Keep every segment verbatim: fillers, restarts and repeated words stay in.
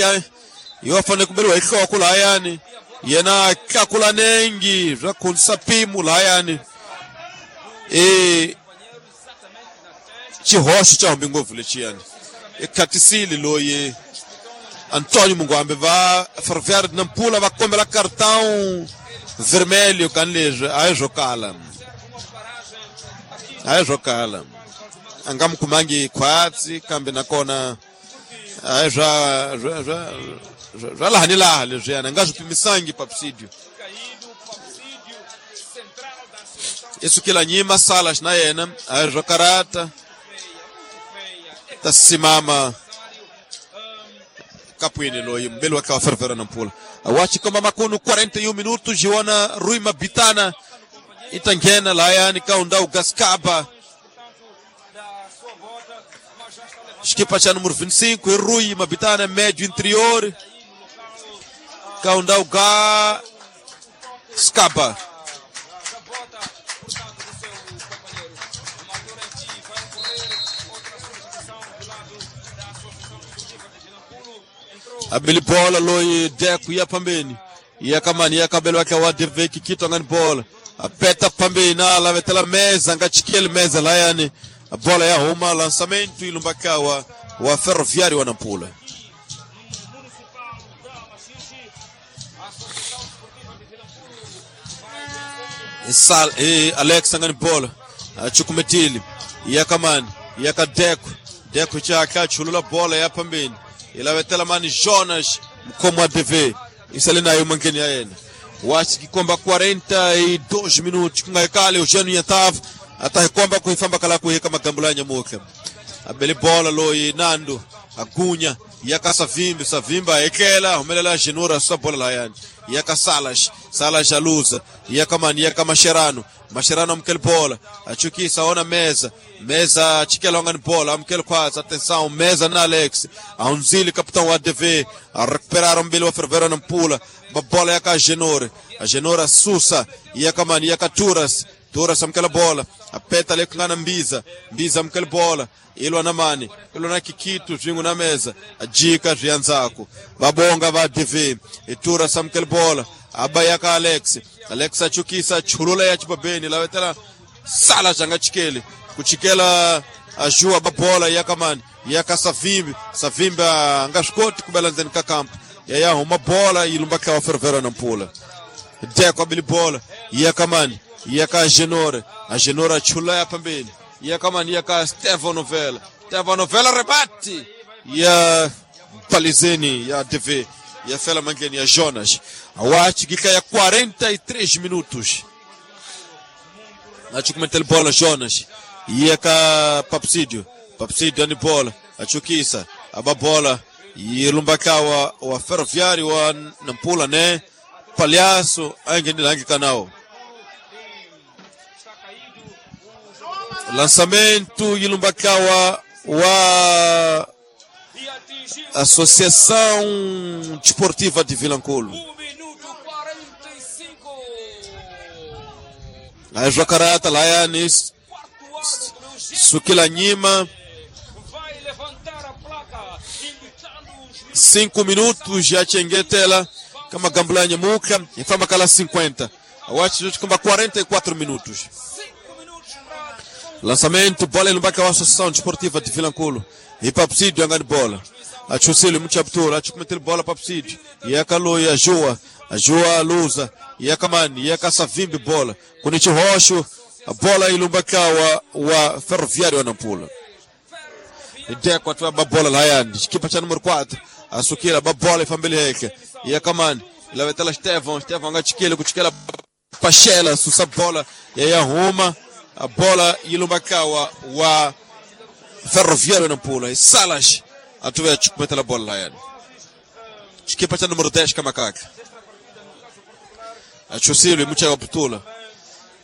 henhla yo fanele ku beriwa hi nhloko lahayani yena tlakula nengi swa khonisa mpimo lahayani e xihoxo xa humbi ngopfu lexiyani i khatisile loyi Antônio Munguambe va Ferroviário de Nampula va kombela cartão vermelho kan leswi a hi swo kala a hi swo kala a nga mi kumangi khwatsi kambe nakona a hi swa swa swa swa laha ni laha leswiyani a nga swi pimisangi Papsidio i sukela nyima Salas na yena a hi swo karata ta simama kapwini loyi mbele wa kawa Ferroviário Nampula wachikomba makunu quarenta e um minutos Joana Rui Mabitana itangena layani kaunda ugascaba equipa cha número vinte e cinco Rui Mabitana médio interior kaunda ugascaba abili bola loyi Deco ya pambeni ya kamani ya kabelo wake wa Deveki kito ngani bola apeta pambeni na lavetela meza ngachikele meza layani bola ya huma lançamento ilumbakawa wa Ferroviário wa Nampula Sal e Alex ngani bola achukumetili ya kamani ya kadeko Deco chaka chulula bola ya pambeni ilavetela mani Jonas mkomo wa D V isale nayo mankeni ya yena wachikikomba quarenta e dois minutos kungaikale Eugênio Yatav atahikomba kuifamba kala kuheka magambula nyamuka abele bola loyi Nando agunya yaka Savimbi Savimba ekela humelela Genura sa bola layani yaka Salas Salas aluza yaka mani yaka Mascherano Mascherano amkele bola achukisa ona meza meza chikela ongani bola amkele quase atenção meza na Alex aunzili capitão A D V a recuperar um belo Ferroviário Nampula bola yaka Genora a Genora sussa yaka mani yaka Turas Turas amkele bola apeta le kungana Mbiza Mbiza amkele bola ilwa na mani ilwa na Kikito zvingu na meza ajika zvianzako vabonga va D V itura samkele bola abayaka Alex Alex achukisa chulula ya chibabeni lavetela sala janga chikele kuchikela ajua babola yakamani yaka Savimbi Savimbi angashikoti kubela nzeni kakampa yaya huma bola ilumba kawa Ferroviário Nampula Deco abili bola yakamani yaka Genora a Genora chula ya pambeni yakamani yaka Stefano Novella Stefano Novella rebate ya Palizeni ya D V ya Fela Mangeni ya Jonas awachi gika ya quarenta e três minutos achukumetele bola Jonas yaka Papsidio Papsidio ani bola achukisa aba bola yilumbakawa wa Ferroviário wa Nampula ne Palhaço angendilangi kanao lançamento yilumbakawa wa Associação Desportiva de Vilanculo. A Jocarata, Laianis, Sukila Nima. Cinco minutos já Chenguetela, kama Gambulanya Muka, e fama kala cinquenta. Awachi kama quarenta e quatro minutos. Lançamento, bola ilumbaka wa Associação Desportiva de Vilanculo. E Papsidio angani bola. Achusile mchaptura, achukumetele bola Papsidio. Yaka ya Joa, a Joa luza, yaka mani, yaka Savimbi bola. Kunichi Rocho, a bola ilumbaka wa, wa Ferroviário wa Nampula. Deco atwa bola layani, equipa cha número quatro. Asukira babola ifambele heke. Yaka mani, ilavetela Stefan, Stefan ngachikele kuchikela Pachela, susa bola ya Roma. A bola ilumbaka wa, wa Ferroviário Nampula. E Salas atuve chukumetela bola layani. Equipa cha número dez Kamakaka. Achusile mucha kaputula.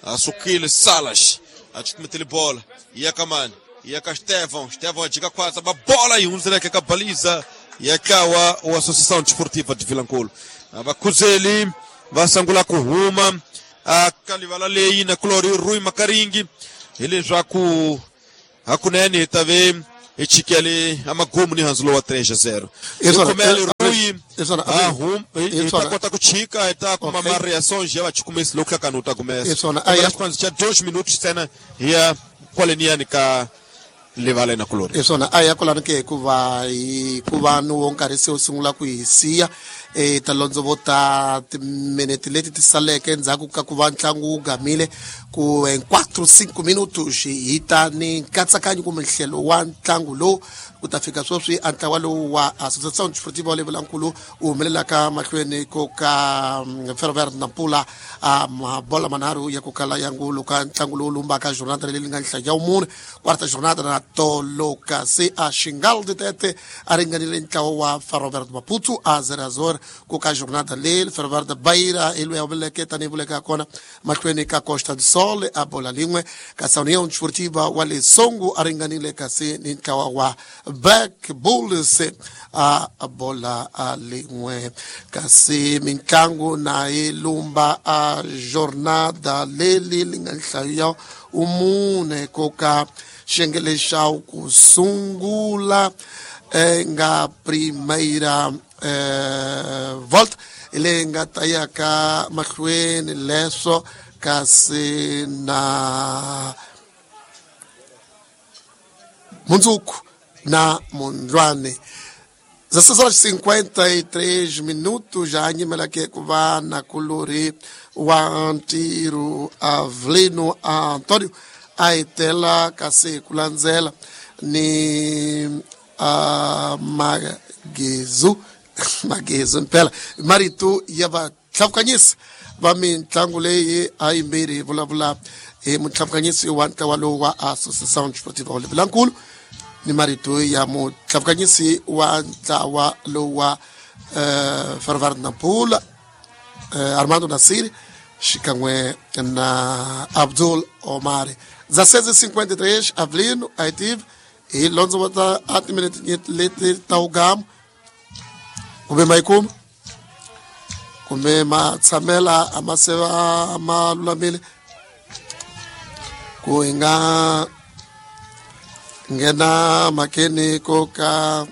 Asukile Salas achukumetele bola. Yakamani, yaka Stefan, Stefan ajiga quase a bola e um zereke kabaliza yakawa wa Associação Desportiva de Vilanculo. Abakuzeli vasangula kuhuma akalivala lei na Clori Rui Makaringi ele já ku hakunene tave echikele amagumu ni hanzulo wa três a zero. Isso, Loyi hi ta kota ku chika hi ta kuma ma-reações ya vachukumisi loko hlakani u ta kumesa xipano xa dois minutos ntsena hi ya kwaleniyani ka livala na kulori. Hi swona a ya kwalano ke hikuva hikuva ni wo nkarhi se wu sungula ku hi siya e ta londzovota timinete leti ti saleke endzhaku ka ku va ntlangu wu gamile ku em quatro cinco minutos hi ta ni nkatsakanyo kumbe nhlelo wa ntlangu lowu ku ta fika sweswi a ntlawa lowu wa Associação Desportiva wa Levelamkulu wu humelelaka mahlweni ko ka Ferroviário Nampula a mabola manharhu ya ku kala ya ngulu ka ntlangu lowu lumbaka jornada leyi nga nhlaya ya vumune quarta jornada na tolo kasi a Xingal de Tete a ringanile ntlawa wa Ferroviário de Maputo a zero a zero ku ka jornada leyi Ferroviário de Beira hi loyi a humeleleke tanihi vuleka kona mahlweni ka Costa do Sol a bola lin'we kasi União Desportiva wa Lesongo a ringanile kasi ni ntlawa wa Black Bulls a bola a lin'we kasi mintlangu na yi lumba a jornada leli li nga nhlayo ya umune ko ka xiyenge xa ku sungula nga primeira eh, volta leyi nga ta ya ka mahlweni leswo kasi na mundzuku na Mondlane. dezesseis horas e cinquenta e três minutos já nyimela ke ku va na kulori wa ntirho Avelino Antônio a etela kasi ku landzela ni uh, Magezu Magezu mpela marito ya vatlhavukanyisi va mitlangu leyi a yimbirhi hi vulavula hi mutlhavukanyisi wa ntlawa lowu wa Associação Desportiva Levelamkulu ni marito ya mutlhavukanyisi wa ntlawa lowu wa uh, Ferroviário Nampula uh, Armando Nasiri xikan'we na Abdul Omar. dezesseis e cinquenta e três Avelino Aitive hi londzovota a timinete leti ta ugama kumbe ma yi kuma kumbe ma tshamela a ma se va ma lulamile ku hi nga nghena mhakeni ko ka